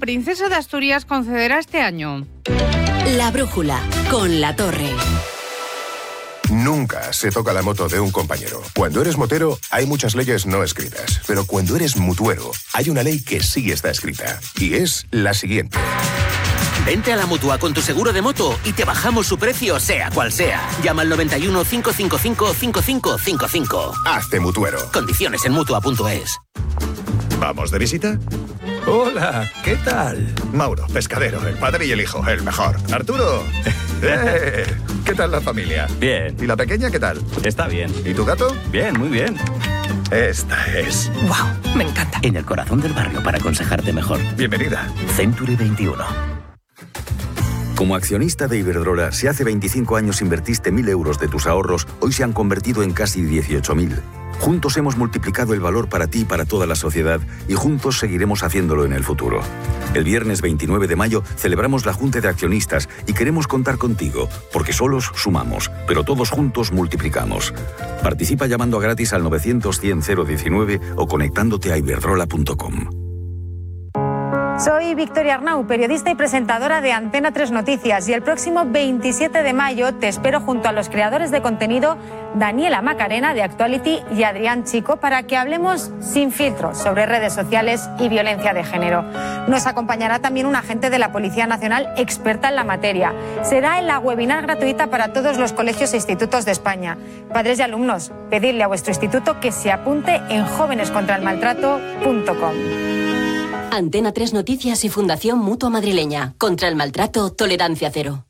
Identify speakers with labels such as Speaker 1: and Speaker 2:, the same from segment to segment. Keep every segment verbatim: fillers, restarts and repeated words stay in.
Speaker 1: Princesa de Asturias concederá este año.
Speaker 2: La brújula, con La Torre.
Speaker 3: Nunca se toca la moto de un compañero. Cuando eres motero, hay muchas leyes no escritas. Pero cuando eres mutuero, hay una ley que sí está escrita. Y es la siguiente.
Speaker 4: Vente a la Mutua con tu seguro de moto y te bajamos su precio, sea cual sea. Llama al noventa y uno, cinco cinco cinco, cinco cinco cinco cinco.
Speaker 3: Hazte mutuero.
Speaker 4: Condiciones en mutua punto es.
Speaker 5: ¿Vamos de visita?
Speaker 6: Hola, ¿qué tal?
Speaker 5: Mauro, pescadero, el padre y el hijo, el mejor. Arturo, eh, ¿qué tal la familia?
Speaker 6: Bien.
Speaker 5: ¿Y la pequeña qué tal?
Speaker 6: Está bien.
Speaker 5: ¿Y tu gato?
Speaker 6: Bien, muy bien.
Speaker 5: Esta es...
Speaker 7: ¡Wow! Me encanta.
Speaker 4: En el corazón del barrio para aconsejarte mejor.
Speaker 5: Bienvenida.
Speaker 4: Century veintiuno.
Speaker 8: Como accionista de Iberdrola, si hace veinticinco años invertiste mil euros de tus ahorros, hoy se han convertido en casi dieciocho mil. Juntos hemos multiplicado el valor para ti y para toda la sociedad y juntos seguiremos haciéndolo en el futuro. El viernes veintinueve de mayo celebramos la Junta de Accionistas y queremos contar contigo, porque solos sumamos, pero todos juntos multiplicamos. Participa llamando a gratis al novecientos, cien, cero diecinueve o conectándote a iberdrola punto com.
Speaker 9: Soy Victoria Arnau, periodista y presentadora de Antena tres Noticias, y el próximo veintisiete de mayo te espero junto a los creadores de contenido Daniela Macarena de Actuality y Adrián Chico para que hablemos sin filtros sobre redes sociales y violencia de género. Nos acompañará también un agente de la Policía Nacional experta en la materia. Será en la webinar gratuita para todos los colegios e institutos de España. Padres y alumnos, pedidle a vuestro instituto que se apunte en jóvenes contra el maltrato punto com.
Speaker 2: Antena tres Noticias y Fundación Mutua Madrileña. Contra el maltrato, tolerancia cero.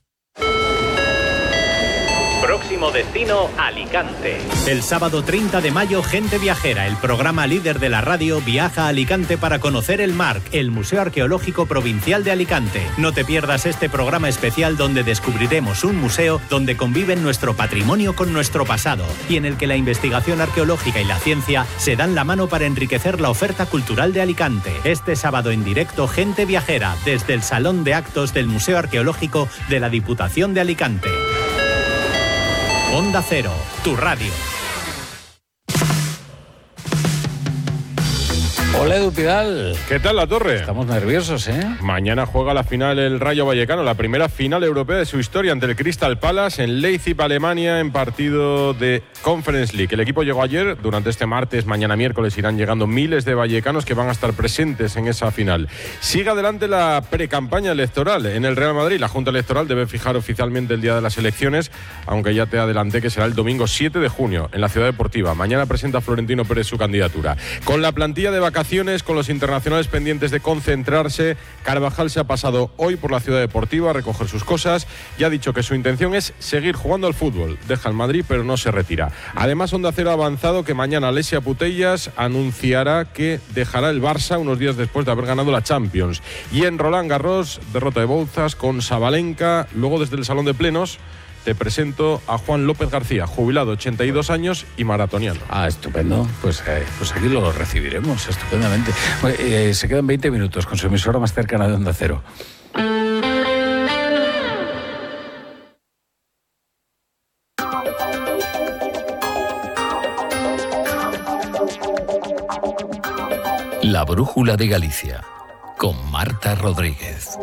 Speaker 10: Próximo destino, Alicante. El sábado treinta de mayo, Gente Viajera, el programa líder de la radio, viaja a Alicante para conocer el MARC, el Museo Arqueológico Provincial de Alicante. No te pierdas este programa especial donde descubriremos un museo donde conviven nuestro patrimonio con nuestro pasado y en el que la investigación arqueológica y la ciencia se dan la mano para enriquecer la oferta cultural de Alicante. Este sábado en directo, Gente Viajera, desde el Salón de Actos del Museo Arqueológico de la Diputación de Alicante. Onda Cero, tu radio.
Speaker 11: Hola, Edu Pidal.
Speaker 12: ¿Qué tal, La Torre?
Speaker 11: Estamos nerviosos, ¿eh?
Speaker 12: Mañana juega la final el Rayo Vallecano, la primera final europea de su historia ante el Crystal Palace en Leipzig, Alemania, en partido de Conference League. El equipo llegó ayer, durante este martes, mañana miércoles irán llegando miles de vallecanos que van a estar presentes en esa final. Sigue adelante la precampaña electoral en el Real Madrid. La Junta Electoral debe fijar oficialmente el día de las elecciones, aunque ya te adelanté que será el domingo siete de junio en la Ciudad Deportiva. Mañana presenta Florentino Pérez su candidatura. Con la plantilla de vacaciones, con los internacionales pendientes de concentrarse, Carvajal se ha pasado hoy por la Ciudad Deportiva a recoger sus cosas y ha dicho que su intención es seguir jugando al fútbol. Deja el Madrid, pero no se retira. Además, Onda Cero ha avanzado que mañana Alessia Putellas anunciará que dejará el Barça unos días después de haber ganado la Champions. Y en Roland Garros, derrota de Bouzas con Sabalenka. Luego, desde el Salón de Plenos, te presento a Juan López García, jubilado, ochenta y dos años y maratoniano.
Speaker 11: Ah, estupendo. Pues, eh, pues aquí lo recibiremos estupendamente. Bueno, eh, se quedan veinte minutos con su emisora más cercana de Onda Cero.
Speaker 13: La Brújula de Galicia, con Marta Rodríguez.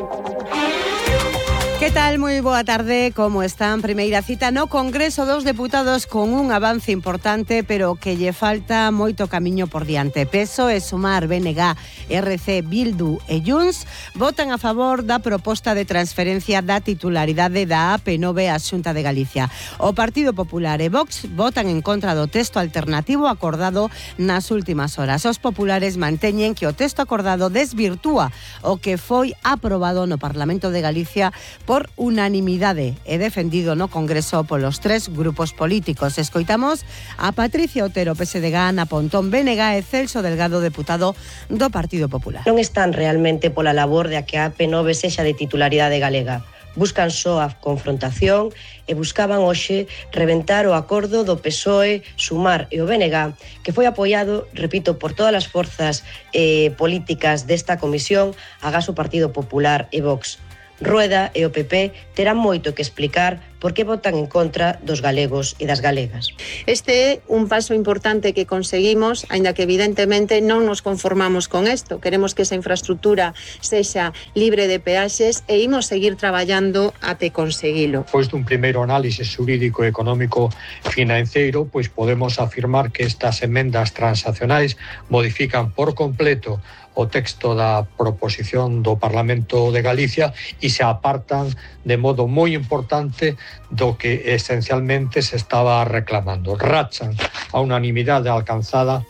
Speaker 14: Que tal? Moi boa tarde, como están? Primeira cita no Congreso dos Deputados con un avance importante, pero que lle falta moito camiño por diante. P S O E, Sumar, B N G, R C, Bildu e Junts votan a favor da proposta de transferencia da titularidade da A P nove á Xunta de Galicia. O Partido Popular e Vox votan en contra do texto alternativo acordado nas últimas horas. Os populares manteñen que o texto acordado desvirtúa o que foi aprobado no Parlamento de Galicia por unanimidade e defendido no Congreso polos tres grupos políticos. Escoitamos a Patricia Otero, P S D G, Ana Pontón, B N G e Celso Delgado, deputado do Partido Popular.
Speaker 15: Non están realmente pola labor de a que a A P nove sexa de titularidade galega. Buscan só a confrontación e buscaban hoxe reventar o acordo do P S O E, Sumar e o B N G, que foi apoiado, repito, por todas as forzas eh, políticas desta comisión, agás o Partido Popular e Vox. Rueda e o P P terán moito que explicar por que votan en contra dos galegos e das galegas.
Speaker 7: Este é un paso importante que conseguimos, aínda que evidentemente non nos conformamos con isto. Queremos que esa infraestructura sexa libre de peaxes e imos seguir traballando até conseguilo.
Speaker 16: Pois dun primeiro análisis xurídico e económico financeiro, pois podemos afirmar que estas emendas transaccionais modifican por completo o texto da proposición do Parlamento de Galicia e se apartan de modo moi importante do que esencialmente se estaba reclamando. Rachan a unanimidade alcanzada.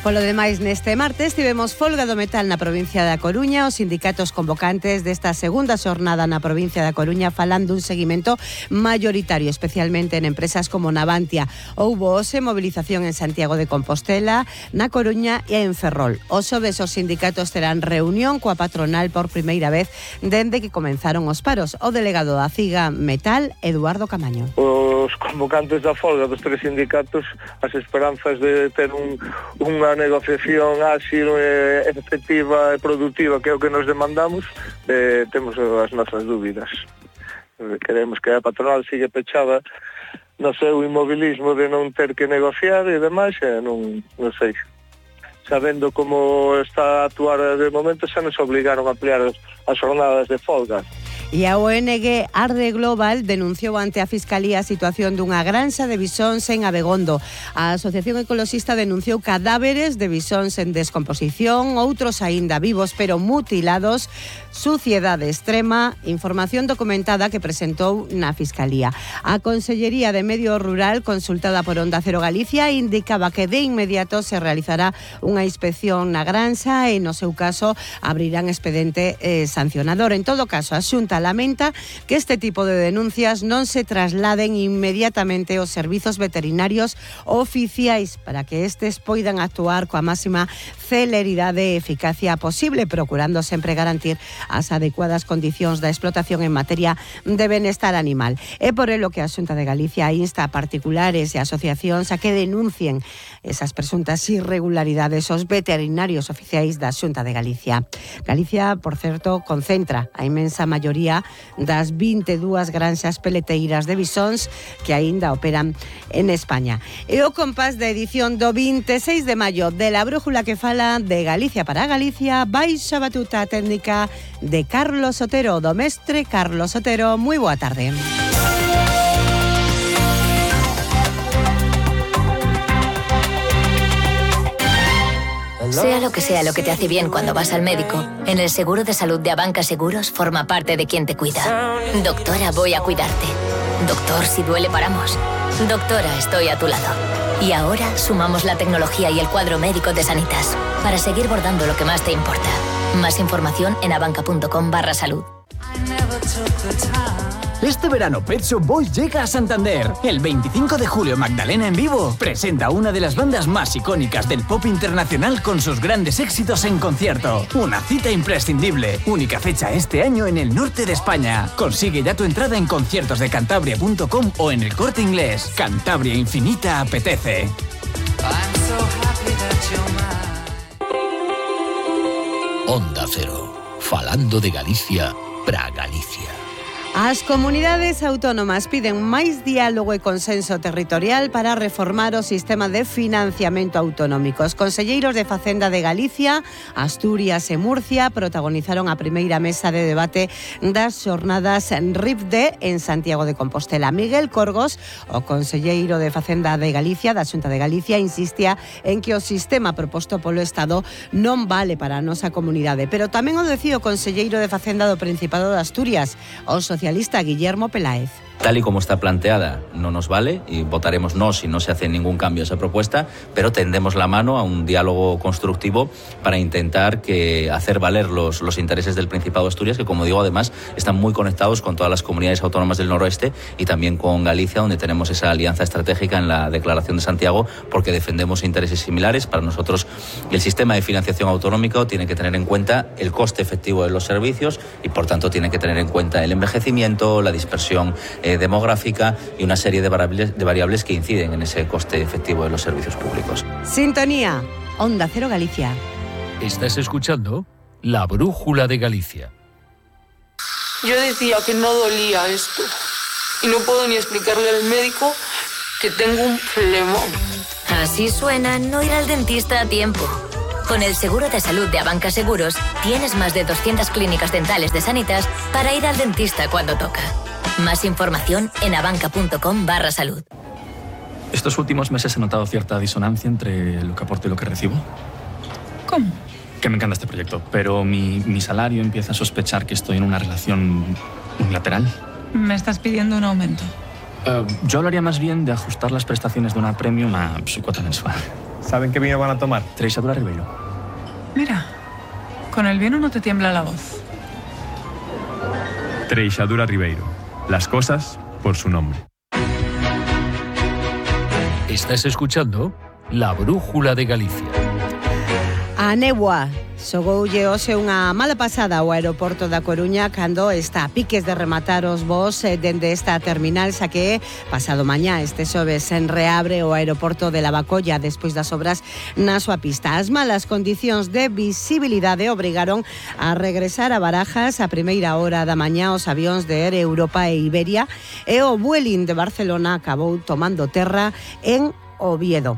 Speaker 14: Polo demais, neste martes tivemos folga do metal na provincia da Coruña. Os sindicatos convocantes desta segunda xornada na provincia da Coruña falan dun seguimento mayoritario, especialmente en empresas como Navantia. Houbo hoxe movilización en Santiago de Compostela, na Coruña e en Ferrol. Os xoves os sindicatos terán reunión coa patronal por primeira vez dende que comenzaron os paros. O delegado da CIGA Metal, Eduardo Camaño.
Speaker 17: Os convocantes da folga dos tres sindicatos, as esperanzas de ter un, unha negociación áxil, eh, efectiva e productiva, que é o que nos demandamos, eh, temos as nosas dúbidas. Queremos que a patronal siga pechada no seu inmobilismo de non ter que negociar e demais, e non, non sei. Sabendo como está a actuar de momento, xa nos obligaron a ampliar as jornadas de folga.
Speaker 14: E a O N G Arde Global denunciou ante a Fiscalía a situación dunha granxa de bisóns en Abegondo. A Asociación Ecoloxista denunciou cadáveres de bisóns en descomposición, outros aínda vivos pero mutilados, suciedade extrema, información documentada que presentou na Fiscalía. A Consellería de Medio Rural, consultada por Onda Cero Galicia, indicaba que de inmediato se realizará unha inspección na granxa e, no seu caso, abrirán expediente eh, sancionador. En todo caso, a Xunta lamenta que este tipo de denuncias non se trasladen inmediatamente aos servizos veterinarios oficiais para que estes poidan actuar coa máxima celeridade e eficacia posible, procurando sempre garantir as adecuadas condicións da explotación en materia de benestar animal. É por elo que a Xunta de Galicia insta a particulares e asociacións a que denuncien esas presuntas irregularidades aos veterinarios oficiais da Xunta de Galicia. Galicia, por certo, concentra a inmensa maioría das vinte e dúas granxas peleteiras de bisóns que aínda operan en España. E o compás da edición do veintiséis de maio de La Brújula que fala de Galicia para Galicia, baixo a batuta técnica de Carlos Otero, do mestre Carlos Otero. Moi boa tarde.
Speaker 18: Sea lo que sea lo que te hace bien cuando vas al médico, en el seguro de salud de Abanca Seguros forma parte de quien te cuida. Doctora, voy a cuidarte. Doctor, si duele paramos. Doctora, estoy a tu lado. Y ahora sumamos la tecnología y el cuadro médico de Sanitas para seguir bordando lo que más te importa. Más información en abanca.com barra salud.
Speaker 19: Este verano Pet Shop Boys llega a Santander. El veinticinco de julio Magdalena en vivo presenta a una de las bandas más icónicas del pop internacional con sus grandes éxitos en concierto. Una cita imprescindible. Única fecha este año en el norte de España. Consigue ya tu entrada en conciertos de cantabria punto com o en El Corte Inglés. Cantabria Infinita apetece.
Speaker 13: Onda Cero. Falando de Galicia para Galicia.
Speaker 14: As comunidades autónomas piden máis diálogo e consenso territorial para reformar o sistema de financiamento autonómico. Os conselleiros de Facenda de Galicia, Asturias e Murcia protagonizaron a primeira mesa de debate das xornadas R I F D en Santiago de Compostela. Miguel Corgos, o conselleiro de Facenda de Galicia, da Xunta de Galicia, insistía en que o sistema proposto polo Estado non vale para a nosa comunidade, pero tamén o decía o conselleiro de Facenda do Principado de Asturias, o socialista Guillermo Peláez.
Speaker 20: Tal y como está planteada, no nos vale y votaremos no si no se hace ningún cambio a esa propuesta, pero tendemos la mano a un diálogo constructivo para intentar que hacer valer los, los intereses del Principado de Asturias, que, como digo, además están muy conectados con todas las comunidades autónomas del noroeste y también con Galicia, donde tenemos esa alianza estratégica en la Declaración de Santiago, porque defendemos intereses similares. Para nosotros, el sistema de financiación autonómico tiene que tener en cuenta el coste efectivo de los servicios y, por tanto, tiene que tener en cuenta el envejecimiento, la dispersión eh, demográfica y una serie de variables, de variables que inciden en ese coste efectivo de los servicios públicos.
Speaker 14: Sintonía, Onda Cero Galicia.
Speaker 13: Estás escuchando La Brújula de Galicia.
Speaker 21: Yo decía que no dolía esto y no puedo ni explicarle al médico que tengo un flemón.
Speaker 18: Así suena no ir al dentista a tiempo. Con el seguro de salud de Abanca Seguros tienes más de doscientas clínicas dentales de Sanitas para ir al dentista cuando toca. Más información en abanca.com barra salud.
Speaker 22: Estos últimos meses he notado cierta disonancia entre lo que aporto y lo que recibo.
Speaker 21: ¿Cómo?
Speaker 22: Que me encanta este proyecto, pero mi, mi salario empieza a sospechar que estoy en una relación unilateral.
Speaker 21: Me estás pidiendo un aumento.
Speaker 22: Uh, yo hablaría más bien de ajustar las prestaciones de una premium a su cuota mensual.
Speaker 23: ¿Saben qué vino van a tomar?
Speaker 22: Treixadura Ribeiro.
Speaker 21: Mira, con el vino no te tiembla la voz.
Speaker 23: Treixadura Ribeiro. Las cosas por su nombre.
Speaker 13: Estás escuchando La Brújula de Galicia.
Speaker 14: A néboa xogoulle hoxe unha mala pasada ao aeroporto da Coruña cando está a piques de rematar os voos dende esta terminal, xa que pasado mañá este xoves en reabre o aeroporto de Lavacolla despois das obras na súa pista. As malas condicións de visibilidade obrigaron a regresar a Barajas a primeira hora da mañá os avións de Air Europa e Iberia e o Vueling de Barcelona acabou tomando terra en Oviedo.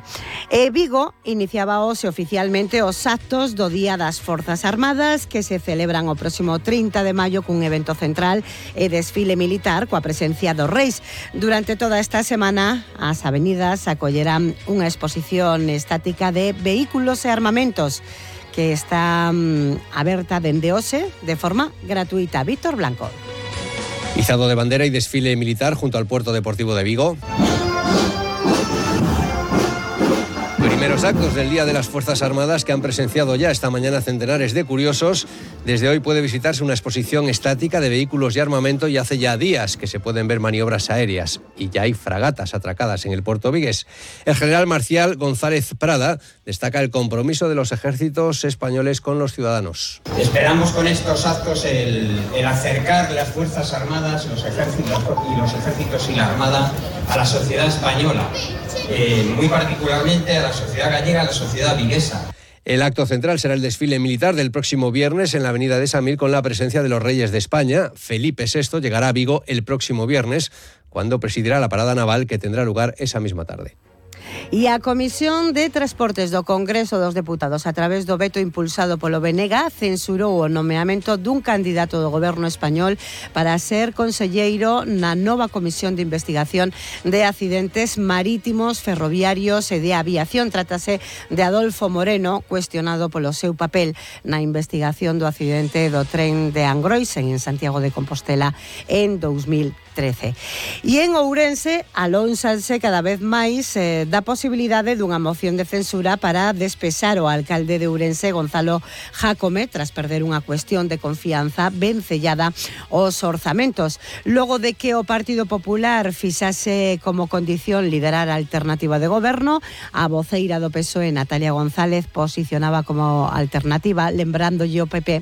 Speaker 14: E Vigo iniciaba hoxe oficialmente os actos do Día das Forzas Armadas que se celebran o próximo trinta de maio cun evento central e desfile militar coa presencia dos reis. Durante toda esta semana as avenidas acollerán unha exposición estática de vehículos e armamentos que está um, aberta dende hoxe de forma gratuita. Víctor Blanco.
Speaker 24: Izado de bandera y desfile militar junto al Puerto Deportivo de Vigo. Primeros actos del Día de las Fuerzas Armadas que han presenciado ya esta mañana centenares de curiosos. Desde hoy puede visitarse una exposición estática de vehículos y armamento y hace ya días que se pueden ver maniobras aéreas y ya hay fragatas atracadas en el puerto vigués. El general Marcial González Prada destaca el compromiso de los ejércitos españoles con los ciudadanos.
Speaker 25: Esperamos con estos actos el, el acercar las Fuerzas Armadas, los ejércitos y los ejércitos y la Armada a la sociedad española, eh, muy particularmente a la sociedad gallega, a la sociedad viguesa.
Speaker 24: El acto central será el desfile militar del próximo viernes en la avenida de Samil con la presencia de los reyes de España. Felipe sexto llegará a Vigo el próximo viernes, cuando presidirá la parada naval que tendrá lugar esa misma tarde.
Speaker 14: E a Comisión de Transportes do Congreso dos Deputados, a través do veto impulsado polo B N G, censurou o nomeamento dun candidato do goberno español para ser conselleiro na nova Comisión de Investigación de Accidentes Marítimos, Ferroviarios e de Aviación. Trátase de Adolfo Moreno, cuestionado polo seu papel na investigación do accidente do tren de Angroisen en Santiago de Compostela en dous mil trece. E en Ourense alónsanse cada vez máis eh, da posibilidade dunha moción de censura para despexar o alcalde de Ourense, Gonzalo Jácome, tras perder unha cuestión de confianza vencellada aos orzamentos. Logo de que o Partido Popular fixase como condición liderar a alternativa de goberno, a voceira do P S O E, Natalia González, posicionaba como alternativa, lembrándolle o P P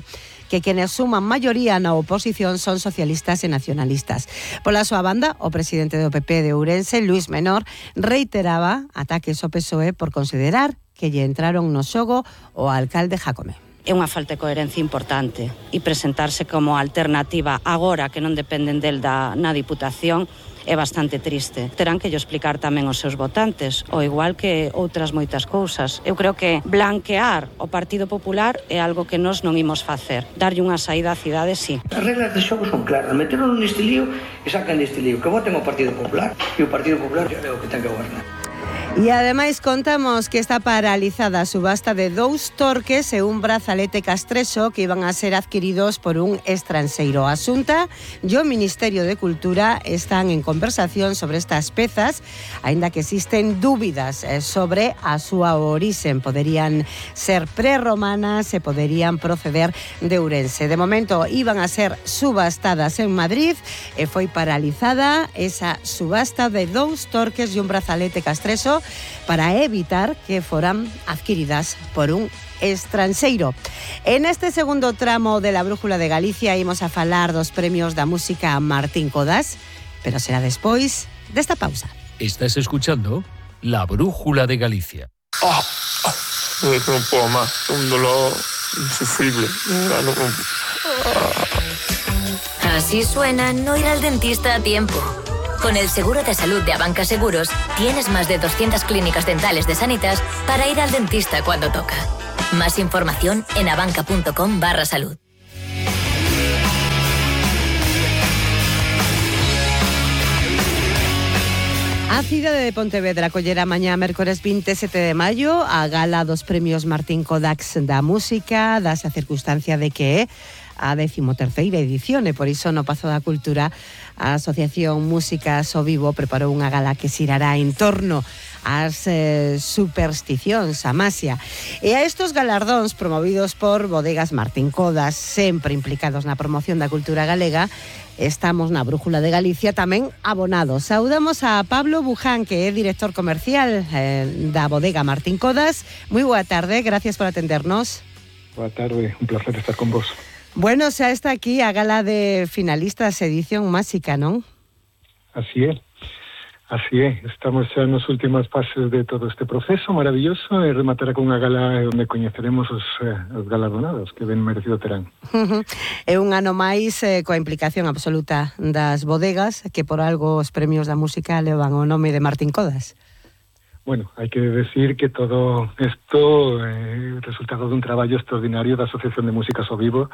Speaker 14: que quenes suman maioría na oposición son socialistas e nacionalistas. Pola súa banda, o presidente do P P de Ourense, Luis Menor, reiteraba ataques ao P S O E por considerar que lle entraron no xogo o alcalde Jácome.
Speaker 26: É unha falta de coherencia importante e presentarse como alternativa agora que non dependen del da, na Diputación é bastante triste. Terán que yo explicar tamén aos seus votantes, ao igual que outras moitas cousas. Eu creo que blanquear o Partido Popular é algo que nós non imos facer. Darlle unha saída á cidade, sí.
Speaker 27: As reglas de xogo son claras. Meteron neste lío e sacan neste lío. Que voten o Partido Popular e o Partido Popular é o que ten que gobernar.
Speaker 14: E ademais contamos que está paralizada a subasta de dous torques e un brazalete castreso que iban a ser adquiridos por un estranxeiro. A Xunta e o Ministerio de Cultura están en conversación sobre estas pezas, aínda que existen dúbidas sobre a súa orixen. Poderían ser prerromanas e poderían proceder de Ourense. De momento iban a ser subastadas en Madrid e foi paralizada esa subasta de dous torques e un brazalete castreso para evitar que foran adquiridas por un estranxeiro. En este segundo tramo de la Brújula de Galicia imos a falar dos premios da música Martín Codas, pero será despois desta pausa.
Speaker 13: Estás escuchando La Brújula de Galicia.
Speaker 28: Oh, oh, non podo máis, un dolor insufrible.
Speaker 18: Así suena no ir al dentista a tiempo. Con el seguro de salud de Abanca Seguros, tienes más de doscientas clínicas dentales de Sanitas para ir al dentista cuando toca. Más información en abanca.com barra salud.
Speaker 14: A cidade de Pontevedra collera mañá mércores vinte e sete de maio a gala dos premios Martín Kodax da música, dase a circunstancia de que é a decimoterceira edición e por iso no Pazo da Cultura a Asociación Músicas ao Vivo preparou unha gala que xirará en torno ás eh, supersticións, a masia. E a estos galardóns promovidos por Bodegas Martín Kodax, sempre implicados na promoción da cultura galega, estamos na Brújula de Galicia tamén abonados. Saudamos a Pablo Buján, que é director comercial eh, da Bodega Martín Kodax. Moi boa tarde, gracias por atendernos.
Speaker 1: Boa tarde, un placer estar con vos.
Speaker 14: Bueno, xa está aquí a gala de finalistas edición máxica, non?
Speaker 1: Así é. Así é, estamos xa nos últimas fases de todo este proceso maravilloso e rematará con unha gala onde coñeceremos os, eh, os galardonados que ben merecido terán.
Speaker 14: Uh-huh. É un ano máis eh, coa implicación absoluta das bodegas que por algo os premios da música levan o nome de Martín Kodax.
Speaker 1: Bueno, hai que decir que todo isto é eh, resultado dun traballo extraordinario da Asociación de Músicas ao Vivo,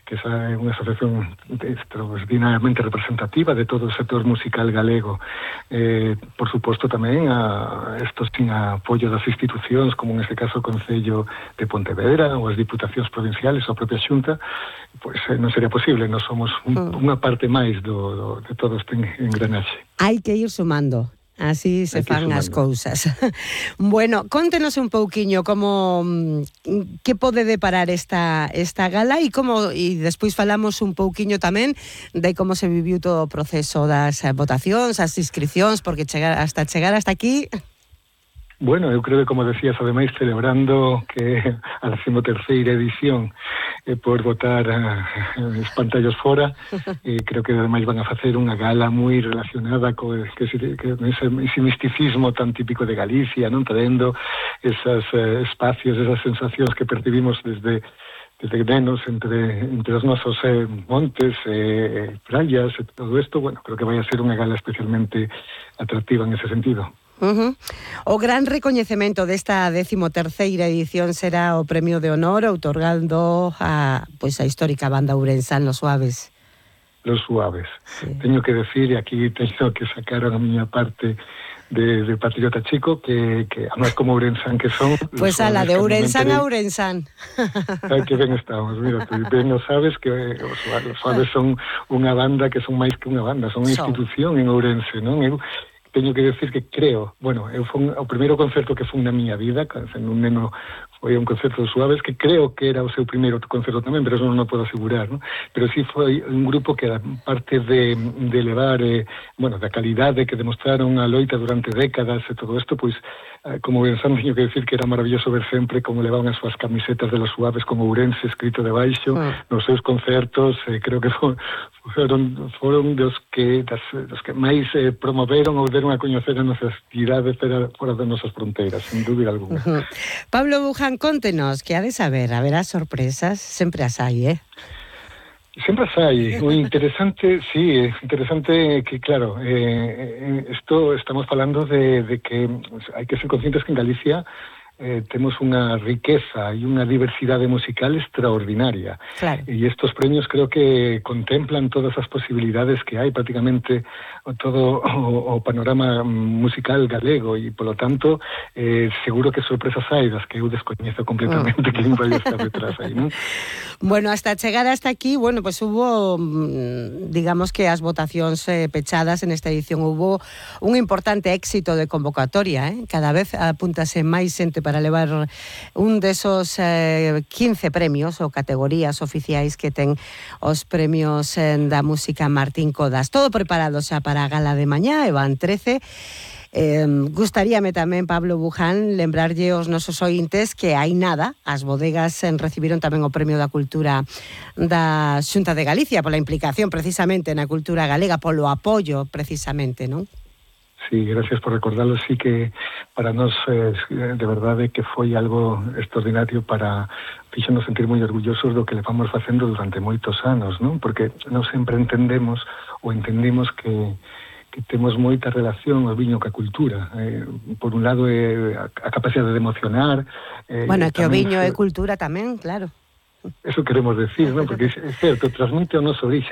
Speaker 1: que é unha asociación extraordinariamente representativa de todo o sector musical galego. Eh, por suposto tamén a estos sin apoio das institucións, como neste caso o Concello de Pontevedra ou as diputacións provinciales ou a propia Xunta, pois eh, non sería posible, nós somos un, mm. unha parte máis do, do, de todo este engranaxe.
Speaker 14: Hai que ir sumando. Así se fan as cousas. Bueno, contenos un pouquiño como que pode deparar esta esta gala e como e despois falamos un pouquiño tamén de como se viviu todo o proceso das votacións, as inscricións, porque chegar hasta chegar hasta aquí.
Speaker 1: Bueno, eu creo que, como decías, ademais celebrando que a decimoterceira edición eh, por votar uh, os pantallos fora, eh, creo que ademais van a facer unha gala moi relacionada co que, que, ese, ese misticismo tan típico de Galicia, non traendo esos eh, espacios, esas sensacións que percibimos desde desde nenos entre, entre os nosos eh, montes, eh, praias, e todo isto. Bueno, creo que vai a ser unha gala especialmente atractiva en ese sentido.
Speaker 14: Uh-huh. O gran recoñecemento desta decimoterceira edición será o premio de honor outorgando a, pois, a histórica banda ourensán Los Suaves.
Speaker 1: Los Suaves. Sí. Teño que decir, e aquí teño que sacar a miña parte de, de patriota chico, que, que además como ourensán que son...
Speaker 14: Pois pues a la de ourensán a ourensán.
Speaker 1: Ai, que ben estamos, mira, tú ben o sabes que os, los Suaves son unha banda que son máis que unha banda, son unha institución en Ourense, non? Eu teño que decir que creo, bueno, eu fun, o primeiro concerto que fun na miña vida, sendo un neno, foi un concerto de Suaves, que creo que era o seu primeiro concerto tamén, pero eso non o podo asegurar, ¿no? Pero sí foi un grupo que era parte de, de elevar, eh, bueno, da calidade que demostraron a loita durante décadas e todo isto, pois, eh, como Ourensán, teño que decir que era maravilloso ver sempre como levaban as súas camisetas de los Suaves con Ourense escrito debaixo, ah. nos seus concertos, eh, creo que foron, foron, foron dos que, das, dos que máis eh, promoveron ou deron a coñecer a nosa actividade fora das nosas fronteiras, sin dúbida alguna.
Speaker 14: Uh-huh. Pablo Buján, contenos, que ha de saber, haberá sorpresas, sempre as hai, eh?
Speaker 1: Sempre as hai. O interesante, sí, interesante que, claro, eh, esto estamos falando de, de que hai que ser conscientes que en Galicia Eh, temos unha riqueza e unha diversidade musical extraordinaria.
Speaker 14: Claro.
Speaker 1: E estos premios creo que contemplan todas as posibilidades que hai, prácticamente todo o, o panorama musical galego, e polo tanto eh, seguro que sorpresas hai das que eu descoñezo completamente oh. que vai estar detrás aí, non?
Speaker 14: Bueno, hasta chegar hasta aquí, bueno, pues hubo, digamos que as votacións eh, pechadas en esta edición, hubo un importante éxito de convocatoria, eh? Cada vez apúntase máis xente para levar un desos eh, quince premios ou categorías oficiais que ten os premios eh, da música Martín Kodax. Todo preparado xa para a gala de mañá, e van trece. Eh, gustaríame tamén, Pablo Buján, lembrarlle aos nosos ointes que hai nada, as bodegas eh, recibiron tamén o Premio da Cultura da Xunta de Galicia pola implicación precisamente na cultura galega, polo apoio precisamente, non?
Speaker 1: Sí, gracias por recordarlo. Sí que para nós eh, de verdade que foi algo extraordinario para fixenos sentir moi orgullosos do que levamos facendo durante moitos anos, non? Porque non sempre entendemos ou entendimos que que temos moita relación ao viño ca cultura. Eh, por un lado, é a, a capacidade de emocionar.
Speaker 14: Eh, bueno, que o viño é cultura tamén, claro.
Speaker 1: Eso queremos decir, non? Porque é certo, transmite o noso orixe,